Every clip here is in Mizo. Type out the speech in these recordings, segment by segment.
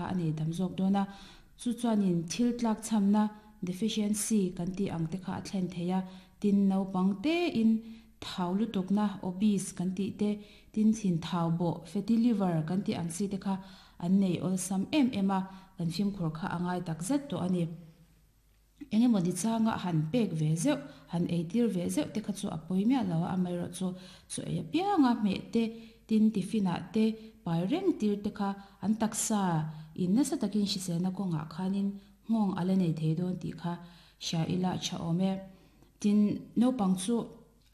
kha a nei tam zawk dawn a. Chu chuanin thil tlakchhamna, deficiency, kan tih ang te kha a thlen thei a. Tin, naupang tein thau lutukna, obese, kan tih te, tin thin thau bawh, fatty liver, kan tih ang chi te kha an nei awlsam em em a, kan fimkhur kha a ngai takzet tawh a ni. Eng emaw ni changa han pek ve zeuh, han eitir ve zeuh te kha chu a pawi miah lo a, amaherawhchu chu ei apianga hmeh te, tin tiffin ah te pai reng tir te kha an taksa in nasa takin hriselna kawngah khanin nghawng a la nei thei dawn tih kha hria ila a tha awm e. Tin, naupang chu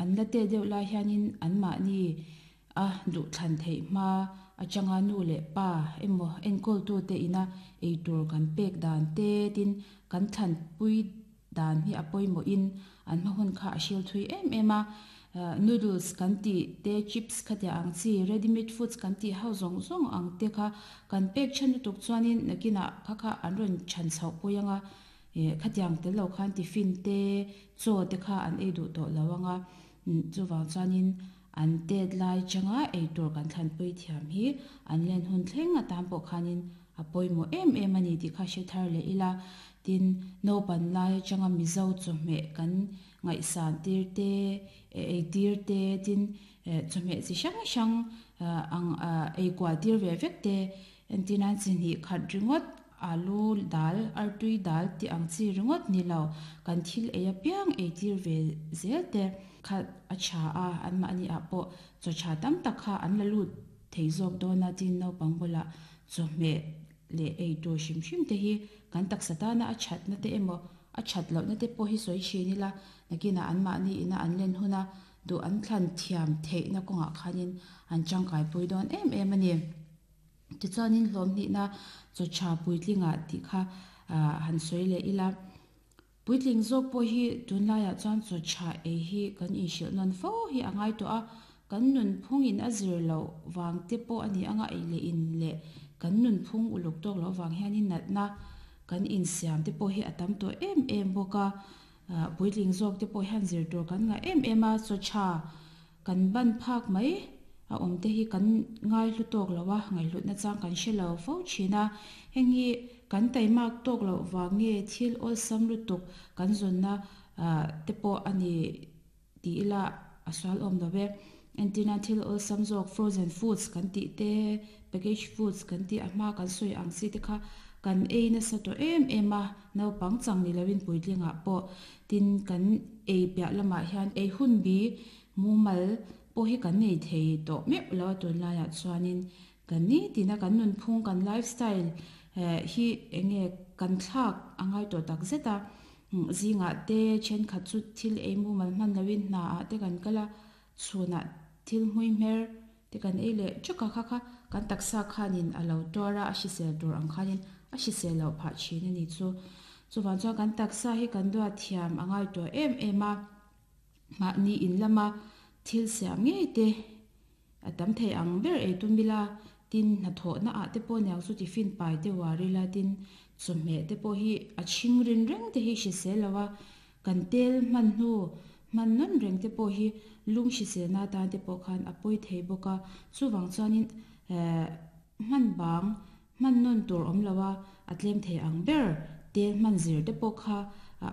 An la tet deuh lai hianin anmahni a duhthlan theih hma atanga nu leh pa emaw enkawltute ina eitur kan pek dan te tin kan thlanpui dan hi a pawimawhin an hma hun kha a hril thui em em a. Noodles kan tih te, chips khatiah ang chi, ready made foods kan tih ho zawng zawng ang te kha kan pek then lutuk chuanin nakinah kha kha an rawn chhan chhoh pui anga. Khatiang tel lo khan tiffin te, chaw te kha an ei duh tawh lo ang a, chuvang chuanin an tet lai changa ei tur kan thlanpui thiam hi an len hun thleng atan pawh khanin a pawimawh em em a ni tih kha hre thar leh ila. Tin, naupan lai atanga Mizo chawhmeh kan ngaihsan tir te, ei tir te, tin chawhmeh chi hrang hrang ang ei kual tir ve vek te, Entir nan chi hnih khat ringawt, alu dal, artui dal tih ang chi ringawt ni lo, kan thil ei apiang eitir ve zel te kha a tha a, anmahni ah pawh chaw tha tam tak kha an la lut thei zawk dawn a, tin naupang bulah chawhmeh leh ei tur hrim hrim te hi kan taksa tana a thatna te emaw a that lohna te pawh hi sawi thin ila, nakinah anmahni ina an len hun a, duh an thlan thiam theihna kawngah khanin an tangkaipui dawn em em a ni. Tichuanin hlawm hnihna chaw tha puitlingah tih kha han sawi leh ila. Puitling zawk pawh hi tunlaiah chuan chaw tha ei hi kan inhrilh nawn fo hi a ngai tawh a, kan nunphungin a zir loh vang te pawh a ni anga ei leh in leh kan nunphung uluk tawk loh vang hianin natna kan insiam te pawh hi a tam tawh em em bawk a. Puitling zawk te pawh hian zir tur kan ngah em em a, chaw tha Kan ban phak mai a awm te hi kan ngaihlu tawk lo a, ngaihhlutna chang kan hre lo fo thin a. Heng hi kan taimak tawk loh vang nge thil awlsam lutuk kan zawnna te pawh a ni tih ila a sual awm lo e. Entirna thil awlsam zawk frozen foods kan tih te, package foods kan tih a hma kan sawi ang chi te kha kan ei nasa tawh em em a, naupang chang ni loin puitlingah pawh tin kan ei piah lamah hian ei hun bi Mumal pawh hi kan nei thei tawh meuh lo a tunlaiah chuanin kan nitina kan nunphung kan life style hi eng nge kan thlak a ngai tawh tak zet a, zingah te thenkhat chu thil ei mumal hman loin hna ah te kan kal a, chhunah thil hmui hmer te kan ei leh teuh a kha kha kan taksa khanin a lo tuar a, a hrisel tur ang khanin a hrisel loh phah thin a ni chu. Chuvang chuan kan taksa hi kan duat thiam a ngai tawh em em a. Mahni in lama thil siam ngei te a tam thei ang ber ei tum ila, tin hnathawhna ah te pawh niang chu tiffin pai te uar ila, tin chawhmeh te pawh hi a chhing rin reng te hi hrisel lo a, kan tel hman hnu hman nawn reng te pawh hi lung hriselna atan te pawh khan a pawi thei bawk a, chuvang chuanin ehh hman bang Hman nawn tur awm lo a, a tlem thei ang ber te hman zir te pawh kha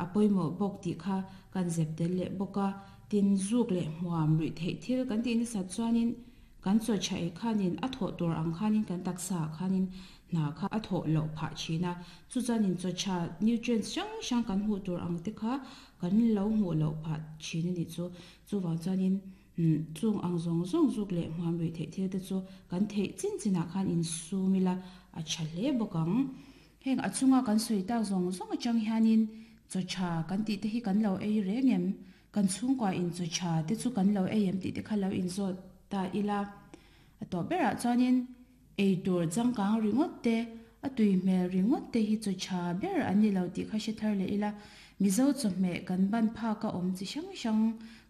a pawimawh bawk tih kha kan zep tel leh bawk a. Tin, zuk leh hmuam ruih theih thil kan tih nasat chuanin kan chaw tha ei khanin a thawh tur ang khanin kan taksa ah khanin hna kha a thawh loh phah thin a. Chu chuanin chaw tha nutrients hrang hrang kan hmuh tur ang te kha kan lo hmuh loh phah thin a nih chu. Chuvang chuanin. Chung ang zawng zawng zuk leh hmuam ruih theih thil te chu kan theih chin chinah khan insum ila a tha hle bawk ang. Heng a chunga kan sawi tak zawng zawng atang hianin chaw tha kan tih te hi kan lo ei reng em? Kan chhungkua in chaw tha te chu kan lo ei em tih te kha lo inzawt ta ila. A tawp berah chuanin Ei tur changkang ringawt te, a tui hmel ringawt te hi chaw tha ber an ni lo tih kha hre thar leh ila, Mizo chawhmeh kan ban phaka awm chi hrang hrang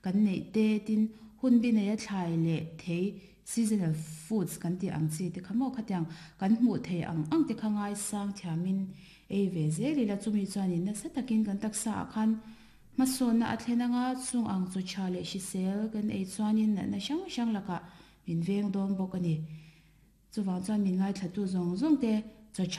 kan neih te, tin hun bi neia thlai leh thei, seasonal foods kan tih ang chi te kha maw khatiang kan hmuh thei ang ang te kha ngaisang thiamin ei ve zel ila, chumi chuanin nasa takin kan taksa ah khan hmasawnna a thlen anga chung ang chaw tha leh hrisel kan ei chuanin natna hrang hrang lakah min veng dawn bawk a ni. Chuvang chuan min ngaithlatu zawng zawng te